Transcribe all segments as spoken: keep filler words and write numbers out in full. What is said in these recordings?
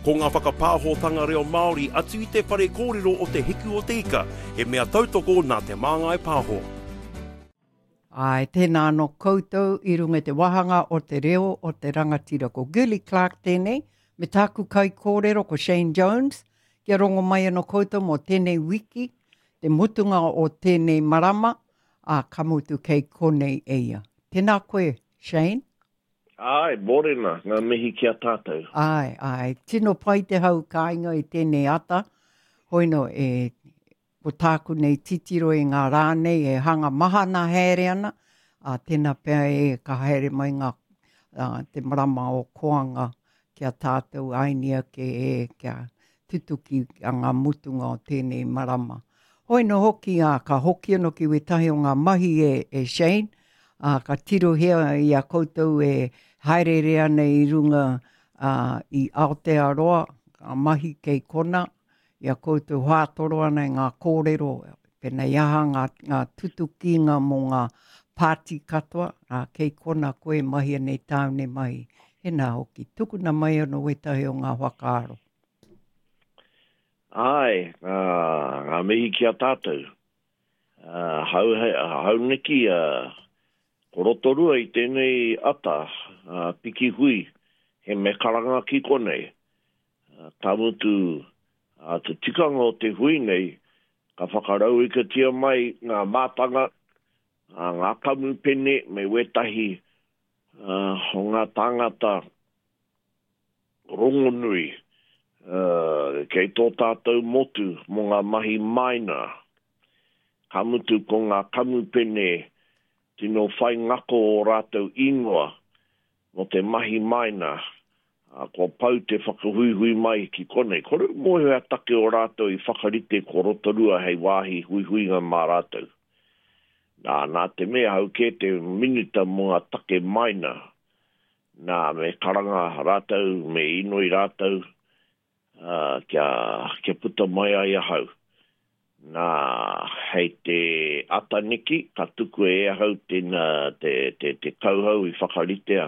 Ko ngā whakapāhotanga reo Māori atu i te whare kōrero o Te Hiku o Te Ika, he mea tautoko nā Te Māngai Pāho. Ai, tēnā anō koutou i runga i te wāhanga o te reo o te rangatira. Ko Girlie Clarke tēnei, me tāku kaikōrero ko Shane Jones, kia rongo mai anō koutou mō tēnei wiki, te mutunga o tēnei marama, ā, ka mutu kei konei e ia. Tēnā koe, Shane. Āe, mōrena, ngā mihi ki a tātou. Āe, āe, tino pai te hau kāinga i tēnei ata. Hoino, e, ko tāku nei titiro i ngā rā nei e hanga mahana haere ana, ā, tēnā pea e ka haere mai ngā, ā, te marama o Koanga ki a tātou aini ake e, kia tutuki a ngā mutunga o tēnei marama. Hoi no hoki, ā, ka hoki anō ki wētahi o ngā mahi e, e Shane, ā, ka tirohia i a koutou e haereere ana i runga ā, i Aotearoa, ngā mahi kei kona, i a koutou whātoro ana i ngā kōrero, pēnei aha ngā, ngā tutukinga mō ngā pāti katoa, ā, kei kona koe mahi nei tāu nei mahi. Hēnā hoki, tukuna mai anō wētahi o ngā whakaaro. Āe, ngā, ngā mihi ki a tātou. Uh, hau, hauneki, uh, ko Rotorua i tēnei ata, uh, piki hui, he me karanga ki konei. Uh, ka mutu, uh, te tikanga o te hui nei, ka whakarauikatia mai ngā mātanga, uh, ngā kamupene me wētahi uh, o ngā tāngata rongonui uh, kei tō tātou motu mō ngā mahi maina. Ka mutu ko ngā kamupene tino whai ngako o rātou ingoa mō te mahi maina, uh, kua pau te whakahuihui mai ki konei. Kore mōhio a take o rātou i whakarite ko Rotorua hei wāhi huihuinga mā rātou. Nā, nā te mea hau kē te minita mō ngā take maina. Nā, me karanga rātou, me inoi rātou, uh, kia, kia puta mai ai ahau. Nā, hei te ataniki, ka tuku e ahau tēnā, te, te, te kauhau i whakaritea,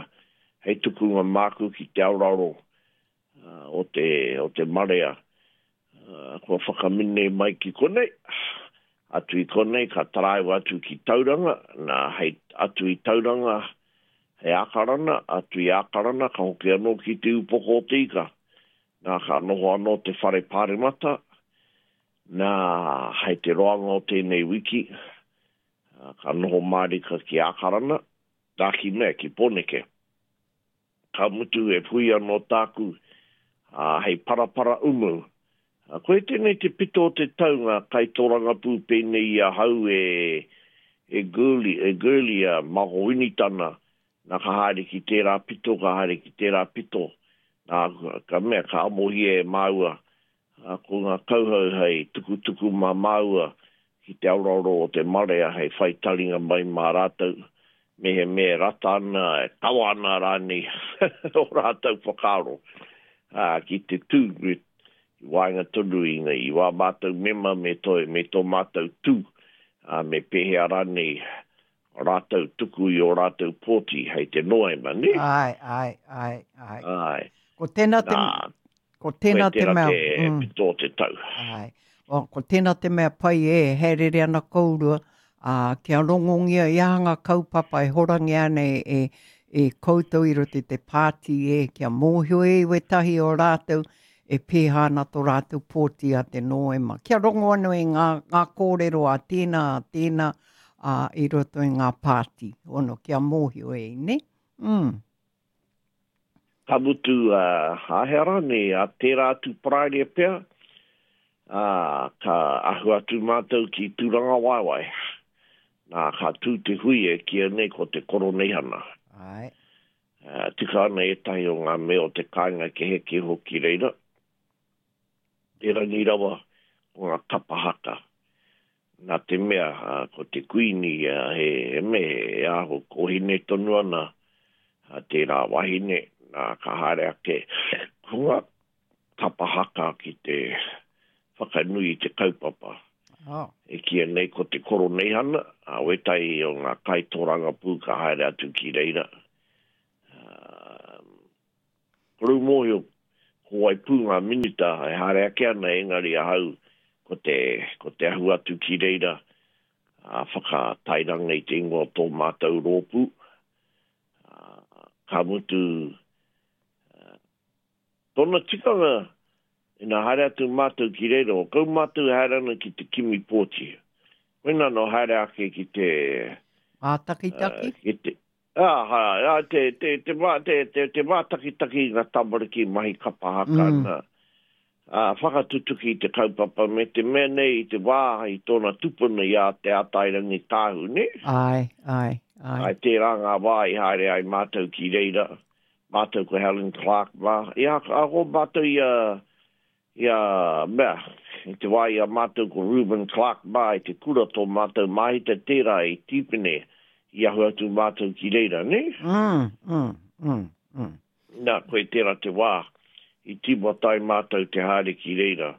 hei tukunga māku ki te auraro uh, o, te, o te marea. Uh, kua whakamine mai ki konei, atu i konei ka taraiwa atu ki Tauranga, nā, hei atu i Tauranga, hei Ākarana, atu i Ākarana, ka hoki anō ki te upoko o te ika. Nā, ka noho anō te whare pāremata, nā, hei te roanga o tēnei wiki, ka noho mārika ki Ākarana, nā ki mea, ki Pōneke. Ka mutu e hui anō tāku, ā, hei parapara umu. Koe tēnei te pito o te tau ngā kaitorangapū pēnei i ahau e, e Girlie, e Girlie a Mako Winitana, nā ka haere ki tērā pito, ka haere ki tērā pito. Nā, ka mea, ka amohia e māua, ā, ko ngā kauhau hei tukutuku mā māua ki te auraro o te marea hei whai taringa mai mā rātou, me he me rata ana, e kawa ana rānei o rātou whakaaro, ā, ki te tū, i waenga tonu i, i wā mātou mema me tō, me tō mātou tū, ā, me pēhea rānei rātou tuku i o rātou pōti hei te Noema, ne? Ai, ai, ai, ai. Ai. Ko tēnā te, Nā, ko tēnā koe te tērā mea, te mm. pito o te tau. Ai. O, ko tēnā te mea pai e, haerere ana kourua, ā, kia rongongia i aha ngā kaupapa e horangia ana e, e, e koutou i roto i te pāti e, kia mōhio e wētahi o rātou e pēhā ana tō rātou pōti a te Noema. Kia rongo anō i ngā, ngā kōrero a tēnā, a tēnā, ā, i roto i ngā pāti. Ono, kia mōhio e, ne? Mm. Ka mutu, uh, āhea rānei, a tērā atu Paraire pea, ā, ka ahu atu mātou ki Tūrangawaewae. Nā, ka tū te hui e kīia nei ko te koroneihana. Ai. Uh, tika ana ētahi o ngā mea o te kāinga ke heke hoki reira. Erangi rawa ko ngā kapa haka. Nā te mea, uh, ko te kuini, uh, he, he me, he aho kohine tonu ana, uh, tērā wahine, nā, ka haere ake ko ngā kapa haka ki te whakanui i te kaupapa. Oh. E kīia nei ko te koroneihana, a wētahi o ngā kaitorangapū ka haere atu ki reira. Uh, Koru mōhio, ko wai pū ngā minita e haere ake ana engari ahau ko te, ko te ahu atu ki reira a whakatairanga i te ingoa o tō mātou rōpū. Uh, ka mutu uh, tōna tikanga ina haere atu mātou ki reira, o kau mātou haere ana ki te kimi pōti. Koina no haere ake ki te... Mātakitaki? Uh, ki te, ah, ha, ah, te, te, te, te, te, te, te mātakitaki ngā tamariki mahi kapa haka Mm. na. Uh, whakatutuki i te kaupapa me te mea nei i te wā i tōna tupuna i a Te Atairangi Tāhu, ne? Ai, ai, ai. Ai tērā ngā wā i haere ai mātou ki reira, mātou ko Helen Clark mā. I a, ako mātou i a, i a mea, i te wā i a mātou ko Ruben Clark mā i te kura tō mātou mahita tērā i Tīpene i ahu atu mātou ki reira, ne? Mm, mm, mm, mm. Nā, koe tērā te wā i tīmata ai mātou te haere ki reira.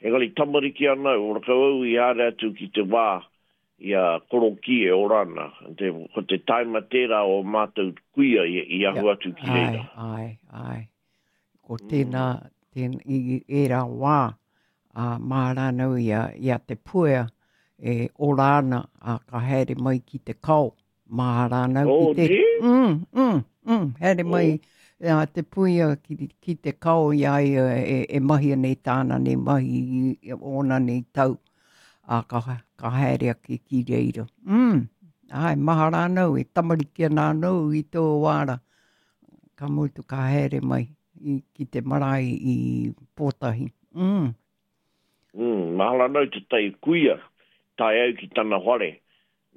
Engari tamariki ana, ora kau au i haere atu ki te wā i a Koroki e ora ana. Te, ko te taima tērā o mātou kuia i, i ahu atu ki reira. Ai, ai, ai. Ko tēnā, tēnā, i ērā wā, a mā rānau i a, i a Te Puea e ora ana, a ka haere mai ki te kao, mā rānau Oh, ki te... ne? Mm, mm, mm, haere mai Oh. a Te Puea ki, ki te kao i a ia e, e mahi nei tāna nei mahi i ōna nei tau, a ka, ka haere ake ki reira. Mm, ai, maha rānau e tamariki ana anō i tō wāra. Ka mutu ka haere mai i, ki te marae i Pōtahi. Mm. Mm, mahala nau te tai kuia, tae au ki tana whare.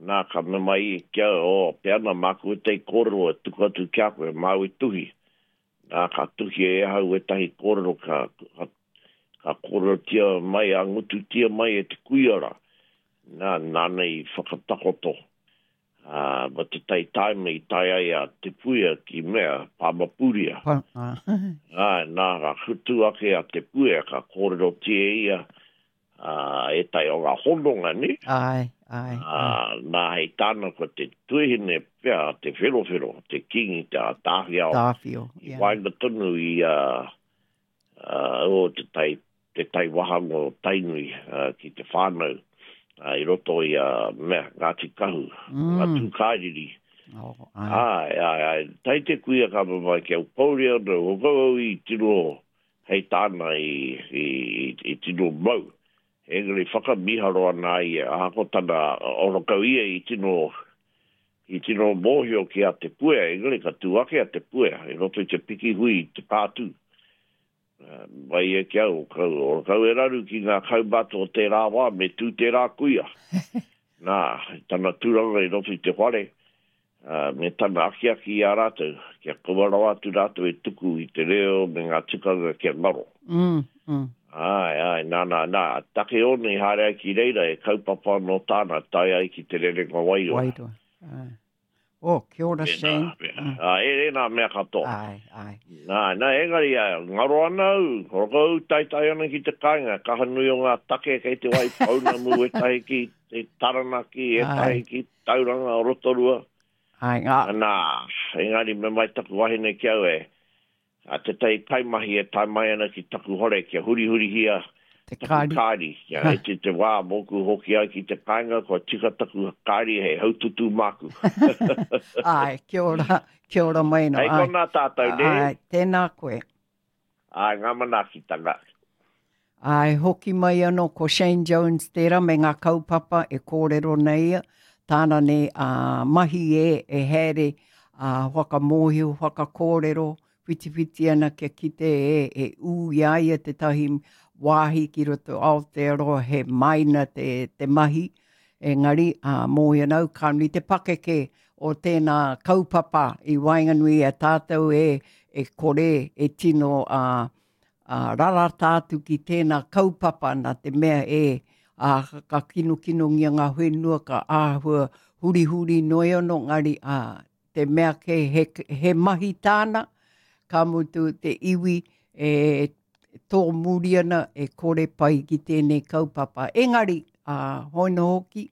Nā, ka me mai i kia, o, pe ana māku e tei kōrero e tuku atu ki a koe, māu e tuhi. Nā, ka tuhi e ahau e tahi kōrero, ka, ka, ka kōrerotia mai, a ngututia mai e te kuia rā. Nā, nāna i whakatakoto. Uh, ma te tai taima i tae ai a Te Puea ki mea, Pāmapuria. Pa, ah. Ai, nā, ka kutu ake a Te Puea, ka kōrerotia ia uh, e tai o ngā hononga, ne? Ai, ai, ai. Uh, nā, hei tāna ko te tuihine pea, te wherowhero, te kingi, te Tāwhiao. Tāwhio, I yeah. waenga tonu i uh, uh, o te tai, te tai wahanga o Tainui uh, ki te whānau uh, i roto i uh, mea, Ngāti Kahu, Mm. ngā Tūkairiri. Oh, ai. Ai, ai, ai, tai te kuia ka mamai ki au pouri ana, o kau au i tino hei tāna i, i, i, i tino mau. Engari whakamiharo ana ai, ahako tana ora kau ia i tino, i tino mōhio ki a Te Puea, engari ka tū ake a Te Puea, i roto i te piki hui i te pātū. Uh, mai e ki au, kau, ora kau e raru ki ngā kaumātua o tērā wā, me tū tērā kuia. Nā, tana tūranga i roto i te whare, uh, me tana akiaki i a rātou, kia kaua rawa atu rātou e tuku i te reo me ngā tikanga kia ngaro. Mm, mm. Ai, ai, nā, nā, nā, take ona i haere ai ki reira e kaupapa anō tāna, tae ai ki te rerenga wairua. Wairua. Ai. Oh, kia ora, Pēnā, Shane. pēnā. Mm. Ā, e, e nā mea katoa. Ai, ai. Nā, nā, engari, ā, ngaro ana au, horoko au taitai ana ki te kāinga, kaha nui o ngā take kei te wai pounamu, etahi ki te Taranaki, etahi Ai. ki Tauranga o Rotorua. Ai, ngā. Nā, engari me mai taku wahine ki au e, a te tai kaimahi e tae mai ana ki taku hore, kia hurihurihia Te taku kāri. kāri. Kia e te te wā mōku hoki ai ki te kāinga, kua tika taku kāri hei haututu māku. Ai, kia ora, kia ora mai no. Hei Ai, konā tātou, ne? ai, tēnā koe. Ai, ngā manaakitanga. Ai, hoki mai anō ko Shane Jones tērā me ngā kaupapa e kōrero nei ia, tāna nei a mahi e, e haere a whakamōhio, whakakōrero, whitiwhiti ana kia kite e, e ū i a ia te tahi wāhi ki roto Aotearoa he maina te, te mahi. Engari, a mōhio nau, ka nui te pakeke o tēnā kaupapa i waenganui a tātou e, e kore, e tino a, a rarata atu ki tēnā kaupapa nā te mea e a, ka kinukinongia ngā whenua ka āhua hurihuri noi anō ngari a, te mea ke he, he mahi tāna, ka mutu te iwi e tō muri ana e kore pai ki tēnei kaupapa. Engari, a, hoino hoki,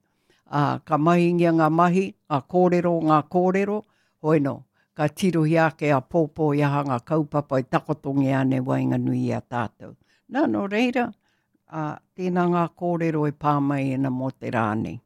a, ka mahingia ngā mahi, ngā kōrero, ngā kōrero, hoino, ka tirohia ake āpōpō i aha ngā kaupapa e takotongia ana i waenganui i a tātou. Nā, nō reira, ā, tēnā ngā kōrero e pā mai ana mō te rā nei.